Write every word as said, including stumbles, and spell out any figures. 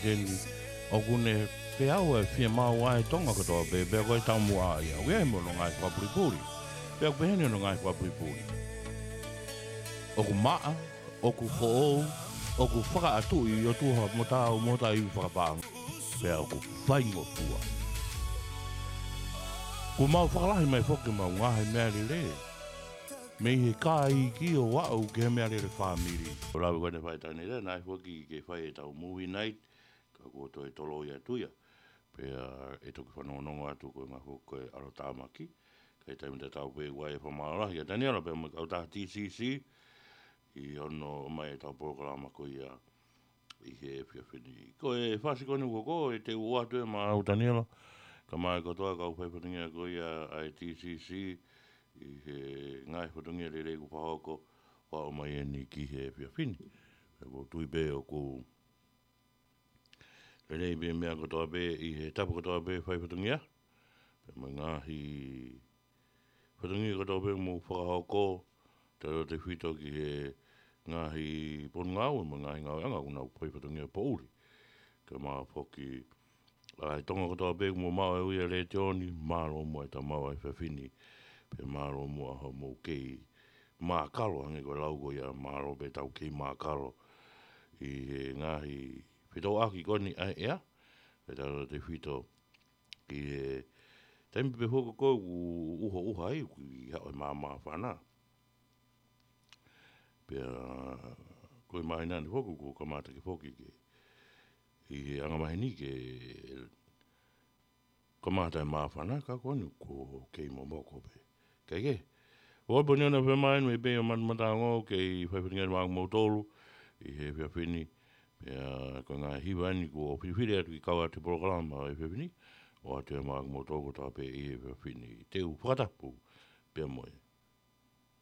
Keni, ʻoku ne feau e fiemaʻu ʻa e Tonga kotoa pē, pea ko e taumuʻa ia. ʻOku ʻi ai mo hono ngaahi fakapulipuli. Pea ʻoku peheni hono ngaahi fakapulipuli. ʻOku maʻa, ʻoku foʻou, ʻoku fakaʻatuʻi ʻOtua mo taau mo taʻu fakapānga. Pea ʻoku faingofua. Kuo mau fakalahi mai foki ʻemau ngaahi meʻa lelei. Mei he kāiki ʻo aʻu ki he meʻa lelei fāmili. ʻO lave ko eni fai taʻane lea, naʻe foki ke fai ʻetau movie night, ka kuo toe toloi atu ia. Pea ʻe toki fanongonongo atu ko e ngaahi foki ko e ʻalotāmaki. Ka ʻi he taimi tatau pē ʻoku ʻi ai e fakamālō lahi kia Taniela pea mo e kautaha T C C. ʻI hono ʻomai ʻetau polokalama ko ia ʻi he efiafi ni. Ko e fasi ko eni ʻoku ou teu ʻoatu ē maʻau Taniela, kae ʻumaʻā kotoa kau fai fatongia ko ia ʻa e T C C, ʻi he ngaahi fatongia lelei kuo fakahoko, ʻo aʻu mai eni ki he efiafi ni. Pea ʻoku ou tui pē ʻoku lelei pē meʻa kotoa pē, ʻi he tapu kotoa pē fai fatongia. Pea mo e ngaahi fatongia kotoa pē mou fakahoko, tautautefito ki he ngaahi ponungāue mo e ngaahi ngāueʻanga ʻoku nau fai fatongia poʻuli. Kae ʻumaʻā foki ʻa e Tonga kotoa pē mou maʻu e ui ʻa e letiō ni, mālō muʻa e tau maʻu ʻa e efiafi ni. Pea mālō muʻa hoʻomou kei mākalo, hangē ko e lau ko ia, mālō pē ʻetau kei mākalo ʻi he ngaahi fetōʻaki ko eni ʻa e ʻea. Pea tautautefito ki he taimi pē foki ko ē ʻoku ʻuha ʻuha ai, ʻoku ʻi ai e māmāfana. Pea ko e māhina ni foki, kuo kamata ke foki ke, ʻi he anga maheni ke kamata e māfana, ka ko eni kuo kei momoko pē. Kae kehe, ʻoku ou poni ona femain me pē ʻo mata, mata ongo kei fai fatongia maʻa kimoutolu ʻi he efiafi ni. Pea ko e ngaahi hiva eni kuo filifili atu ke kau atu he polokalama ʻo e efiafi ni, ʻoatu ia maʻa kimoutolu kotoa pē ʻi he efiafi ni. Teu fakatapu pea mo e